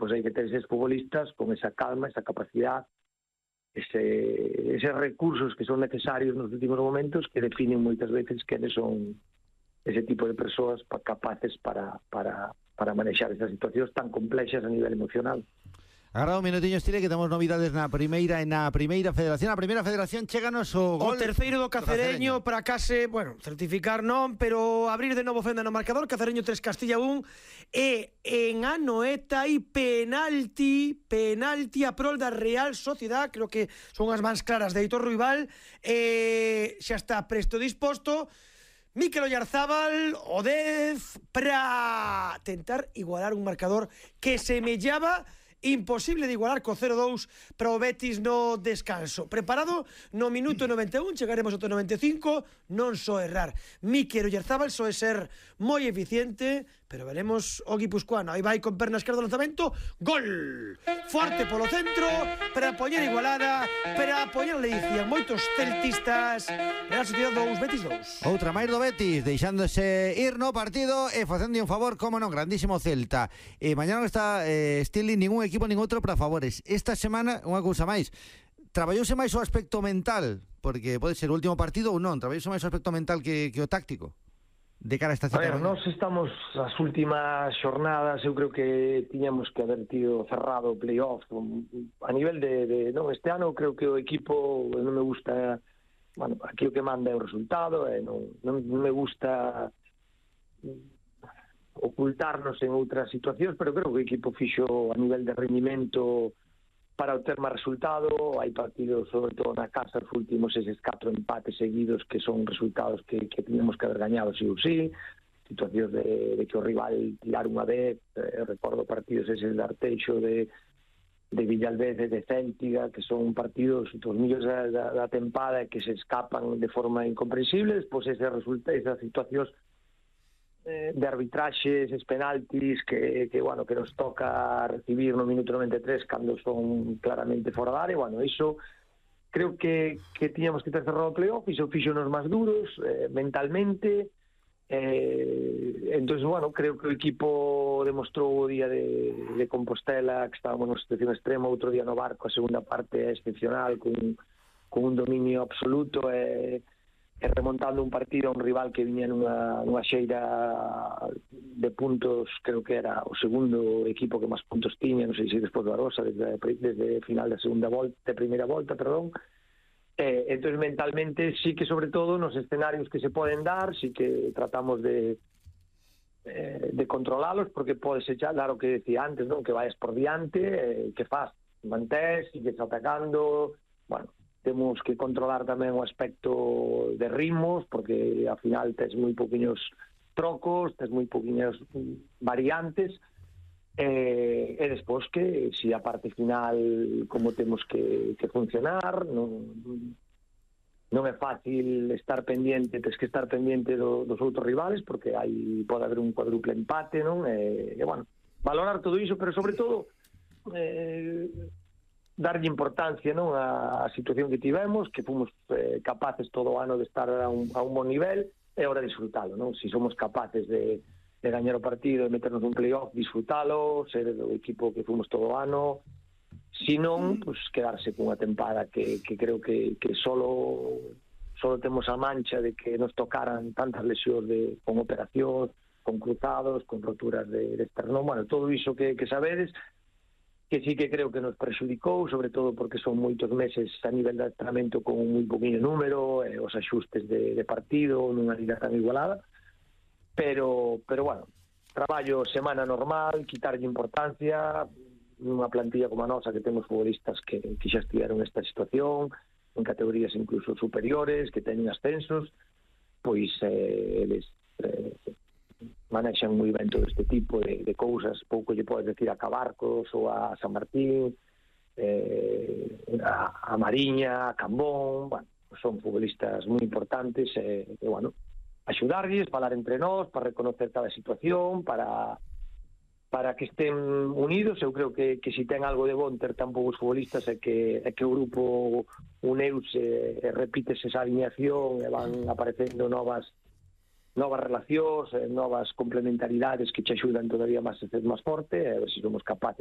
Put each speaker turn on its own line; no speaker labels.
pois hai que ter eses futbolistas con esa calma, esa capacidade, eses recursos que son necesarios nos últimos momentos que definen moitas veces quenes son ese tipo de persoas capaces para manexar esas situacións tan complexas a nivel emocional.
Agora un minutiño, Estile, que temos novidades na primeira federación. A primeira federación chéganos o gol.
O terceiro do Cacereño para case, bueno, certificar non, pero abrir de novo fenda no marcador. Cacereño 3, Castilla 1. E en Anoeta hai penalti a prol da Real Sociedad. Creo que son as mans claras de Heitor Ruibal. Xa está presto disposto. Mikel Oyarzábal, o 10, para tentar igualar un marcador que semellaba imposible de igualar co 0-2 para o Betis no descanso. Preparado no minuto 91, chegaremos ao 95, non só errar. Mikel Oyarzábal só é ser moi eficiente, pero veremos o guipuscoano. Aí vai con perna esquerda do lanzamento, gol! Forte polo centro, para poñer igualada, para poñer ledicia. Moitos celtistas, Real Sociedad 2, Betis 2.
Outra máis do Betis, deixándose ir no partido e facendo un favor, como non, grandísimo Celta. Mañana non está Stili ningún equipo nin outro para favores. Esta semana, unha cousa máis, traballouse máis o aspecto mental, porque pode ser o último partido ou non, traballouse máis o aspecto mental que o táctico de cara a esta cita.
Nós estamos as últimas xornadas, eu creo que tiñamos que haber tido cerrado o playoff a nivel de non, este ano creo que o equipo non me gusta, bueno, aquí o que manda é o resultado, non me gusta ocultarnos en outras situacións, pero creo que o equipo fixo a nivel de rendimento para obter máis resultado. Hai partidos, sobre todo na casa, os últimos eses 4 empates seguidos que son resultados que teníamos que haber gañado sí ou sí, situacións de que o rival tirar unha vez, recordo partidos eses de Arteixo, de Villalbez, de Céltiga, que son partidos dos millóns da tempada que se escapan de forma incomprensible. Despois esas situacións de arbitraxes, eses penaltis que nos toca recibir no minuto 93 cando son claramente fora da área. Bueno, iso creo que tiñamos que ter cerrado o playoff, iso fixonos máis duros mentalmente. Entón, bueno, creo que o equipo demostrou o día de Compostela que estábamos nunha situación extrema, outro día no Barco a segunda parte excepcional con un dominio absoluto e remontando un partido a un rival que viña nunha xeira de puntos. Creo que era o segundo equipo que máis puntos tiña, non sei se despois do Arosa, desde final da primeira volta, perdón. Entón, mentalmente, sí que sobre todo nos escenarios que se poden dar, sí que tratamos de controlalos, porque pode ser xa, claro, que decía antes, non, que vayas por diante, que faz, mantés, sigues atacando. Bueno, temos que controlar tamén o aspecto de ritmos, porque ao final tes moi poquinhos trocos, tes moi poquinhas variantes, e despois que si a parte final como temos que funcionar, non é fácil estar pendiente, tes que estar pendiente dos outros rivales, porque pode haber un cuádruple empate, non? E bueno, valorar todo iso, pero sobre todo darlle importancia, non, a situación que tivemos, que fomos capaces todo o ano de estar a un bon nivel, é hora de disfrutalo, non? Si somos capaces de gañar o partido, de meternos un playoff, disfrutalo, ser o equipo que fomos todo o ano. Si non, pues quedarse cunha tempada que creo que solo temos a mancha de que nos tocaran tantas lesións con operacións, con cruzados, con roturas de esternón, bueno, todo iso que sabedes, que sí que creo que nos prexudicou, sobre todo porque son moitos meses a nivel de adestramento con un moi poquinho número, os axustes de partido nunha liga tan igualada, pero bueno, traballo semana normal, quitarlle importancia nunha plantilla como a nosa, que temos futbolistas que xa estiveron nesta situación, en categorías incluso superiores, que teñen ascensos, pois eles manexan moi ben todo este tipo de cousas. Pouco lle podes decir a Cabarcos ou a San Martín, a Mariña, a Cambón. Bueno, son futbolistas moi importantes, e bueno, axudarlles, falar entre nós, para reconocer cada situación, para que estén unidos. Eu creo que si ten algo de bon ter tan poucos futbolistas é que o grupo uneuse e repítese esa alineación e van aparecendo novas relacións, novas complementaridades que che axudan todavía máis a ser máis forte, e a ver se somos capaces